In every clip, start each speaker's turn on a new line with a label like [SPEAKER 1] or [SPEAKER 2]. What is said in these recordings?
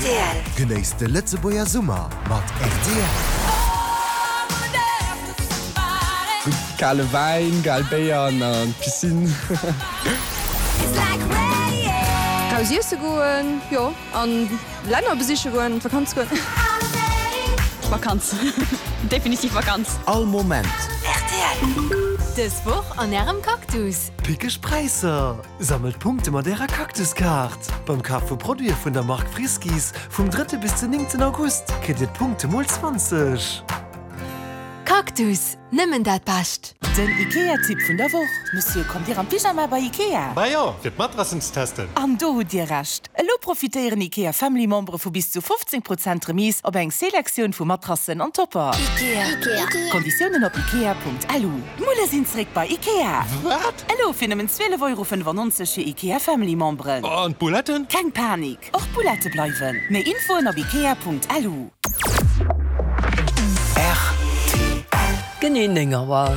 [SPEAKER 1] Rtl. Genéisst de Lëtzebuerger Summer mat rtl.
[SPEAKER 2] Gutt kale Wäin, kal Béier an an d'Piscine.
[SPEAKER 3] Raus iesse goen, jo, an Länner besiche goen, an d'Vakanz goen.
[SPEAKER 4] Vakanz, definitiv Vakanz.
[SPEAKER 1] All Moment.
[SPEAKER 5] Rtl. Dës Woch an Ärem Cactus.
[SPEAKER 1] Pickeg Präisser! Sammelt Punkte mat Ärer Cactus-Kaart! Beim Kaf vu Produite vun der Mark Friskies vum drëtte bis den néngten August kritt Dir d'Punkte mol 20.
[SPEAKER 5] Cactus, nëmmen dat Bescht!
[SPEAKER 6] Den Ikea-Tipp vun der Woch, Monsieur, kommt Dir am Pyjama bei Ikea?
[SPEAKER 7] Bah jo, fir d'Matrassen ze testen.
[SPEAKER 6] An do hutt Dir Recht! Elo profitéieren Ikea Family Membere vu bis zu 15 Prozent Remise op eng Selektioun vu Matrassen an Topper.
[SPEAKER 5] Ikea.
[SPEAKER 6] Konditiounen op ikea.lu. D'Mulle sinn zréck bei Ikea!
[SPEAKER 7] Wat?
[SPEAKER 6] Elo fir nëmmen 12,95 Euro fir Ikea Family Memberen.
[SPEAKER 7] An d'Bouletten?
[SPEAKER 6] Keng Panik, och d'Boulette bleiwen. Méi Infoen op ikea.lu.
[SPEAKER 1] Rtl.
[SPEAKER 8] Genee 9 Auer.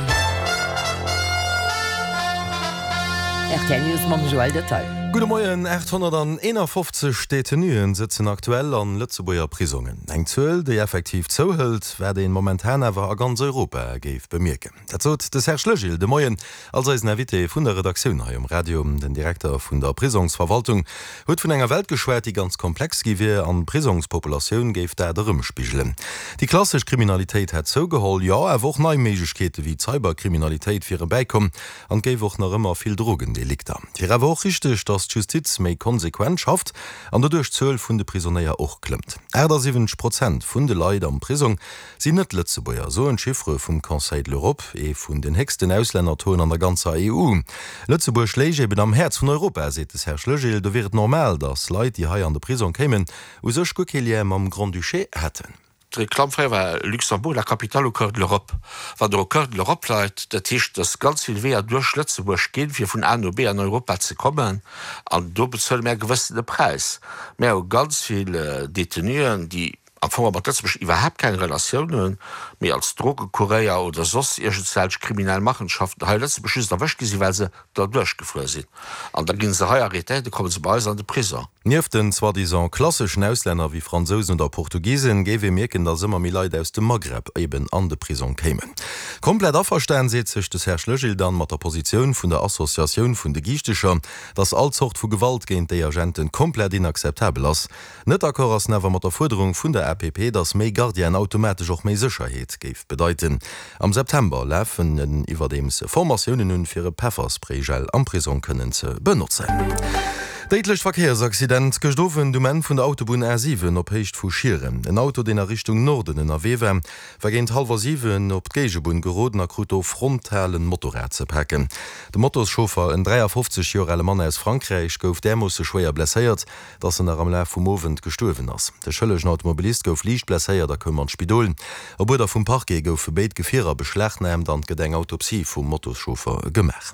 [SPEAKER 8] Rtl News mam Joël Detail.
[SPEAKER 9] Gudde Moien. 851 Detenuen sëtzen aktuell an Lëtzebuerger Prisongen. Eng Zuel, déi effektiv zouhëlt, wat een momentan awer a ganz Europa géif bemierken. Dat sot de Serge Legil de Moien als eisen Invité vun der Redaktioun hei um Radio. Den Direkter vun der Prisongsverwaltung huet vun enger Welt geschwat, déi ganz komplex gi wier an d'Prisongspopulatioun géif dat erëmspigelen. Déi klassesch Kriminalitéit hätt zougeholl, jo, awer och nei Méiglechkeete wéi d'Cyberkriminalitéit wiere bäikomm an et géif och nach ëmmer vill Drogendelikter. Et wier awer och richteg, datt d'Justiz méi konsequent schafft an doduerch d'Zuel vun de Prisonéier och klëmmt. 78 Prozent vun de Leit am Prisong sinn Net-Lëtzebuerger, soen d'Chiffere vum Conseil de l'Europe, ee vun den héchsten Auslännertauxen an der ganzer EU. Lëtzebuerg léich eben am Häerz vun Europa, seet de Serge Legil. Do wier et normal, datt Leit, déi hei an de Prisong kéimen, u sech guer kee Lien mam Grand-Duché hätten.
[SPEAKER 10] D'Reklamm fréier war Luxembourg, la capitale au cœur de l'Europe. Wann Der au cœur de l'Europe leit, dat heescht, datt ganz vill Weeër duerch Lëtzebuerg ginn, fir vun A no B an Europa ze kommen, an do bezuele mär e gewëssene Präis. Mär hu ganz vill Détenuen, déi am Fong mat Lëtzebuerg iwwerhaapt keng Relatioun hunn, mee als Drogekuréier oder soss iergendwelch kriminell Machenschaften hei a Lëtzebuerg just erwëscht gi sinn, well se derduerch gefuer sinn. An da gi se hei arrêtéiert, da komme se bei eis an de Prison.
[SPEAKER 9] Nieft den soi-disant klasseschen Auslänner wéi Fransousen oder Portugisen géif ee mierken, datt ëmmer méi Leit aus dem Maghreb eben an de Prisong kéimen. Komplett averstan seet sech de Serge Legil dann mat der Positioun vun der Associatioun vun de Giichtecher, datt all Zort vu Gewalt géint déi Agenten komplett inakzeptabel ass. Net d'accord ass en awer mat der Fuerderung vun der APP, datt méi Gardienen automatesch och méi Sécherheet géif bedeiten. Am September lafen en iwwerdeems Formatiounen un, fir e Pefferspraygel am Prisong kënnen ze benotzen. Déidlecht Verkéiersaccident gëscht Owend um Enn vun der Autobunn A7 op Héicht vu Schieren. En Auto, deen a Richtung Norden ënnerwee war, war géint hallwer 7 op d'Géigebunn geroden a krut do frontal en Motorrad ze paken. De Motoschauffer, en 53 Joer ale Mann aus Frankräich, gouf därmoosse schwéier blesséiert, dass en nach am Laf vum Owend gestuerwen ass. De schëllegen Automobilist gouf liicht blesséiert a koum an d'Spidol. Op Uerder vum Parquet goufe béid Gefierer beschlagnaamt an et gëtt eng Autopsie vum Motoschauffer gemaach.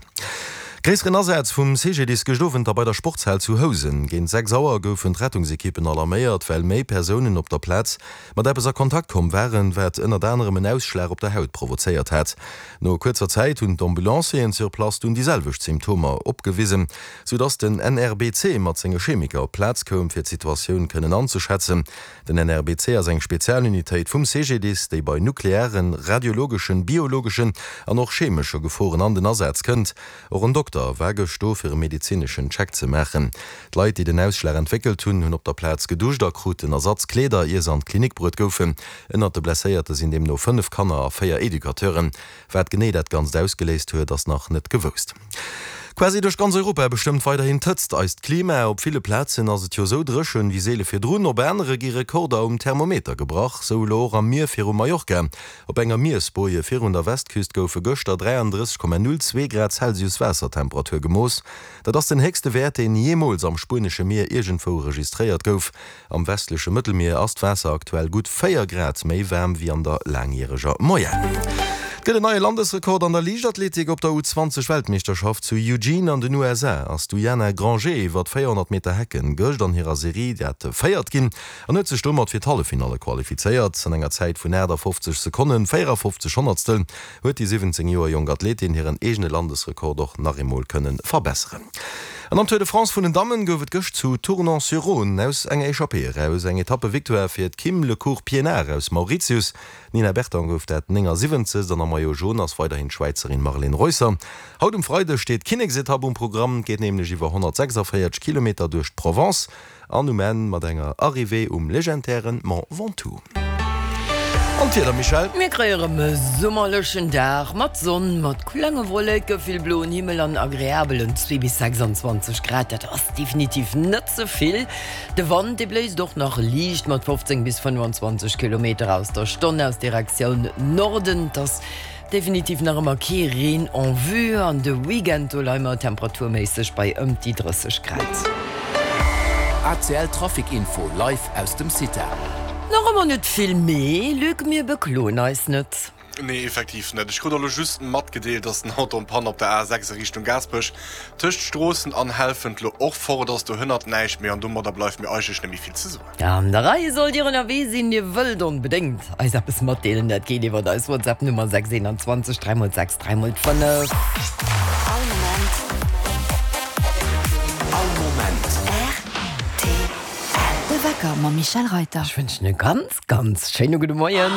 [SPEAKER 9] Gréisseren Asaz vum CGDIS gëscht Owend da bei der Sportshal zu Housen. Géint 6 Auer goufen d'Rettungsekippen alarméiert, well méi Persounen op der Plaz mat eppes a Kontakt komm waren, wat ënnert anerem en Ausschlag op der Haut provozéiert hat. No kuerzer Zäit hunn d'Ambulancieren sur place dunn déi selwecht Symptomer opgewisen, sou dass den NRBC mat senge Chemiker op d'Plaz koum, fir d'Situatioun kënnen anzeschätzen. Den NRBC ass eng Spezialunitéit vum CGDIS, déi bei nuklearen, radiologeschen, biologeschen an och chemesche Geforen an den Asaz kënnt. Och en Dokter war gëscht do, fir e medezineschen Check ze maachen. D'Leit, déi den Ausschlag entwéckelt hunn, hunn op der Plaz geduscht a kruten Ersatzkleeder, ier se an d'Klinik bruet goufen. Ënnert de Blesséierte sinn deemno 5 Kanner a 4 Educateuren. Wat genee dat Ganzt ausgeléist huet, ass nach net gewousst. Quasi duerch ganz Europa bestëmmt weiderhin d'Hëtzt eist Klima. Op ville Plazen ass et jo sou dréchen wéi seele virdrun, op anere gi Rekorder um Thermometer gebrach. Sou elo och am Mier viru Mallorca. Op enger Miersboje virun der Westküst goufe gëschter 33,02 Grad Celsius Waassertemperatur gemooss. Dat ass den héchste Wäert, deen jeemools am spuenesche Mier iergendwou registréiert gouf. Am westleche Mëttelmier ass d'Waasser aktuell gutt 4 Grad méi waarm wéi an der laangjäreger Moyenne. Et gëtt en neie Landesrekord an der Liichtathletik. Op der U20 Weltmeeschterschaft zu Eugene an den USA ass d'Uyana Granger iwwer 400 Meter Hecken gëscht an hirer Serie dat Véiert ginn an huet sech domat fir d'Halleffinalle qualifizéiert. An enger Zäit vun 58 Sekonnen 54 Honnertstel huet déi 17 Joer jonk Athletin hiren eegene Landesrekord och nach eemol kënne verbesseren. An am Tour de France vun den Dammen gouf et gëscht zu Tournon-sur-Rhône aus enger Echappée eraus eng Etappe-Victoire fir d'Kim Le Court Pienaar aus Mauritius. D'Nina Berton gouf dat 79. an am Maillot Jaune ass weiderhin d'Schwäizerin Marlene Reusser. Haut um Freideg steet d'Kinneksetapp um Programm. Et geet nämlech iwwer 146 Kilometer duerch d'Provence. An um Enn mat enger Arrivée um legendären Mont Ventoux. An d'Wieder, Michèle?
[SPEAKER 8] Mir kréie rëm e summerlechen Dag mat Sonn, mat klenge Wolleke, vill bloen Himmel an agreabelen 2 bis 26 Grad. Dat ass definitiv net ze vill. De Wand, dee bléist och nach liicht mat 15 bis 25 Kilometer aus der Stonn aus Direktioun Norden. Et ass Definitiv nach ëmmer kee Reen en vue an de Weekend do leie mer temperaturméisseg bei ëm déi 30 Grad.
[SPEAKER 11] ACL Trafic Info live aus dem CITA.
[SPEAKER 8] Nach ëmmer net vill, mee Luc, mir bekloen eis net.
[SPEAKER 7] Nee, effektiv net. Ech krut och elo just matgedeelt, dass den Auto en panne op der A6 a Richtung Gaasperech tëscht Stroossen an Helfent lo och fort ass. Dohënnert näischt méi an domadder bleift mir eigentlech net méi vill ze soen.
[SPEAKER 8] An der Rei sollt Dir ënnerwee sinn, Dir wëllt onbedéngt eis eppes matdeelen, dat geet iwwert eis WhatsApp Nummer 6 21 3 x 6 3 x 5.
[SPEAKER 5] All Moment.
[SPEAKER 11] All Moment.
[SPEAKER 5] Rtl. De Wecker mam Michèle Reyter.
[SPEAKER 8] Ech wënschen e ganz, ganz schéine gudde Moien.